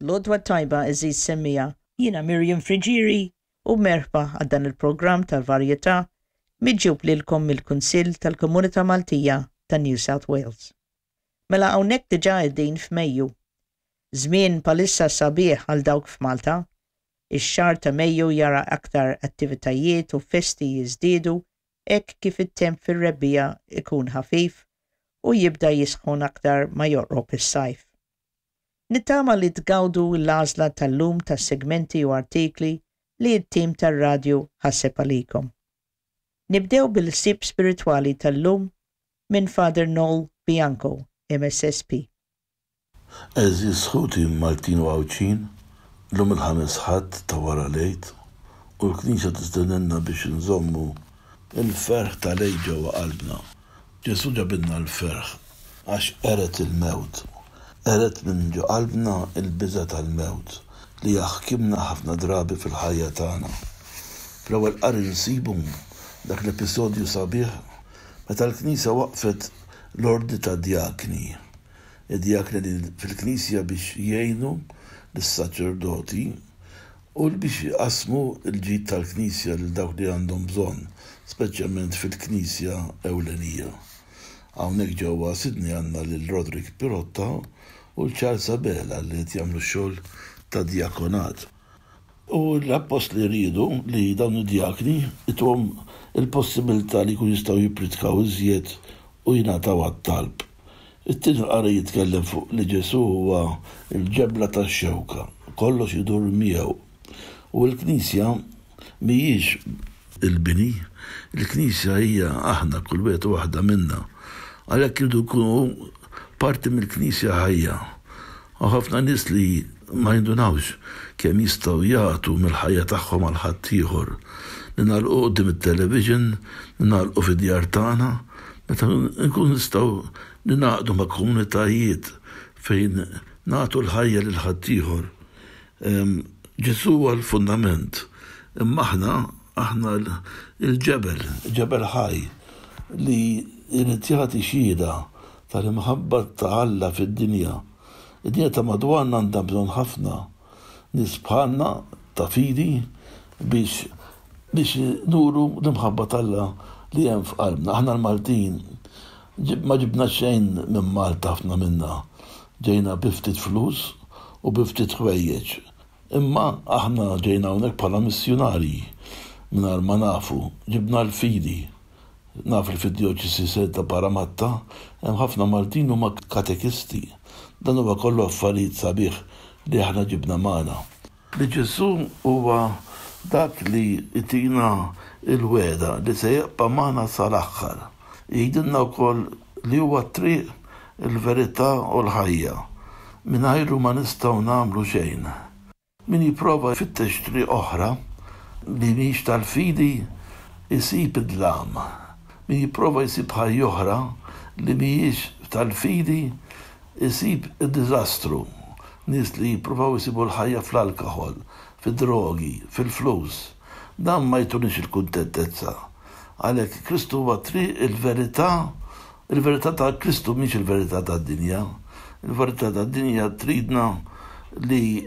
L-għodwa t-tajba għeżież semmiegħa, jiena Miriam Friggieri u merħba għal dan il-programm tal-varjetà miġjub lilkom mill-Kunsill tal-Komunità Maltija ta' New South Wales. Mela hawnhekk diġà qegħdin f'Mejju. Żmien bħalissa sabiħ għal dawk f'Malta. Ix-xahar ta' Mejju jara aktar attivitajiet u festi jiżdiedu hekk kif it-temp fir-rebbiegħa jkun ħafif u jibda jisħon aktar ma joqrob is-sajf. Nittama li tgawdu l-għażla tal-lum ta' segmenti u artikli li t-tim tar-radju ħaseb għalikom. Nibdew bil-ħsieb spiritwali tal-lum minn Father Noel Bianco, MSSP. Għeżież ħuti Maltin u Għawdxin, llum il-ħames Ħadd ta' wara l-Għid u l-Knisja tistedinna biex inżommu l-ferħ tal-Għid ġewwa qalbna. Ġesù ġabilna l-ferħ għax qered il-mewt. Qered minn ġo qalbna l-biża' tal-mewt li jaħkimna ħafna drabi fil-ħajja tagħna. Fl-ewwel qari nsibu dak l-episodju sabiħ meta l-Knisja waqqfet l-ordni tad-djakni. Id-djakni li fil-Knisja biex jgħinu lis-saċerdoti u biex iqassmu l-ġid tal-Knisja lil dawk li għandhom bżonn, speċjalment fil-Knisja ewlenija. Hawnhekk ġewwa Sydney għandna lil Roderick Pirotta u l Charles Abela li qed jagħmlu x-xogħol ta' djakonat. U l-appostli riedu li dawn id-djakni ituhom il-possibilità li jkunu jistgħu jippritkaw iżjed u jingħataw għat-talb. It-tieni qari jitkellem fuq li Ġesù huwa l-ġebla tax-xewka, kollox idur miegħu. U l-Knisja mhijiex il-bini, il-Knisja hija aħna, kull wieħed u waħda minna. Għalhekk irridu nkunu parti mill-Knisja ħajja. Hawn ħafna nies li ma jindunawx kemm jistgħu jagħtu mill-ħajja tagħhom għal ħaddieħor. Ningħalqu quddiem it-television, ningħalqu fid-djar tagħna, meta nkunu nistgħu ningħaqdu ma' komunitajiet fejn nagħtu l-ħajja lil ħaddieħor. Ġesù huwa l-fundament, imma aħna, aħna l-ġebel, ġebel ħaj li jrid jagħti xhieda tal-imħabba ta' Alla fid-dinja. Id-dinja ta' madwarna għandha bżonn ħafna nies bħalna ta' fidi biex biex nuru l-imħabba t'Alla li hemm f'qalbna. Aħna l-Maltin ma ġibna xejn minn Malta ħafna minna. Ġejna bi ftit flus u bi ftit ħwejjeġ. Imma aħna ġejna hawnhekk bħala missjunarji mingħajr ma nafu. Ġibna l-fidi. Naf li fid-djoċesi ta' Parramatta hemm ħafna Maltin huma katekisti. Dan huwa kollu affarijiet sabiħ li aħna ġibna magħna. Li Ġesù huwa dak li jtina l-wegħda li se jibqa' magħna sal-aħħar. Jgħidilna wkoll li huwa t-triq, il-verità u l-ħajja. Mingħajru ma nistgħu nagħmlu xejn. Min jipprova jfittex triq oħra li mhix tal-fidi jsib id-dlam. Min jipprova jsib ħajja oħra li mhijiex tal-fidi jsib id-diżastru. Nies li jippruvaw isibu l-ħajja fl-alkoħol, fid-drogi, fil-flus. Dan ma jtunix il-kuntentezza. Għalhekk Kristu huwa t-triq, il-verità Il-verità ta' Kristu mhix il-verità tad-dinja. Il-verità tad-dinja tridna li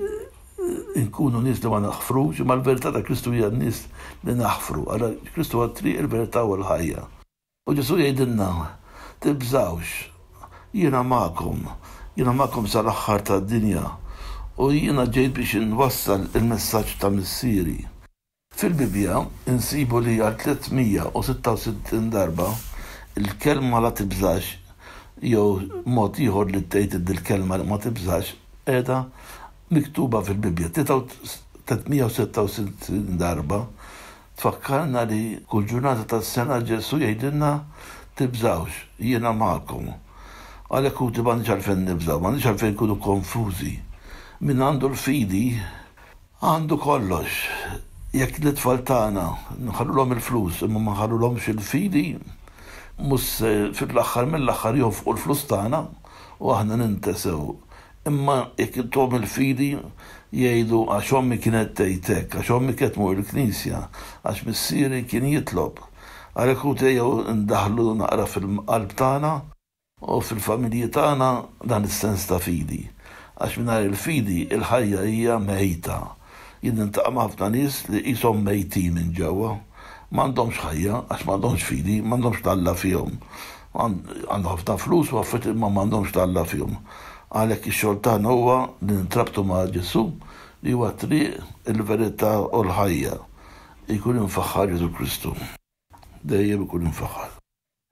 nkunu nies li ma naħfrux, imma l-verità ta' Kristu hija nies li naħfru. Għala Kristu huwa t-triq, il-verità u l-ħajja. U Ġesù jgħidilna, tibżgħux, jiena magħkom, jiena magħkom sal-aħħar tad-dinja, u jiena ġejt biex inwassal il-messaġġ ta' Missieri. Fil-Bibbja nsibu li għal 366 darba l-kelma la tibżax jew mod ieħor li tgħid dil-kelma ma tibżax qiegħda miktuba fil-Bibbja. 366 darba tfakkarna li kull ġurnata tas-sena Ġesù jgħidilna tibżgħux, jiena magħkom. Għalhekk ħuti m'għandniex għalfejn nibżgħu, m'għandniex għalfejn nkunu konfużi. Min għandu l-fidi Għandu kollox. Jekk lit-tfal tagħna nħallulhom il-flus imma ma nħallulhomx il-fidi, mhux se fl-aħħar mill-aħħar jonfqu l-flus tagħna u aħna nintesew. Imma jekk intuhom il-fidi jgħidu għax ommi kienet tgħid hekk, għax ommi kienet tmur il-knisja, għax missieri kien jitlob. Għalhekk ħuti ejjew indaħħlu naqra fil-qalb tagħna U fil-familji tagħna dan is-sens ta' fidi. Għax mingħajr il-fidi il-ħajja hija mejta. Jien niltaqa' ma' ħafna nies li qishom mejtin minn ġewwa. M'għandhomx ħajja għax m'għandhomx fidi, m'għandhomx 'l Alla fihom. Għandhom ħafna flus u affarijiet imma m'għandhomx 'l Alla fihom. Għalhekk ix-xogħol tagħna huwa li nintrabtu ma' Ġesù li huwa t-triq, il-verità u l-ħajja. Ikun imfaħħar Ġesù Kristu. Dejjem ikun imfaħħar.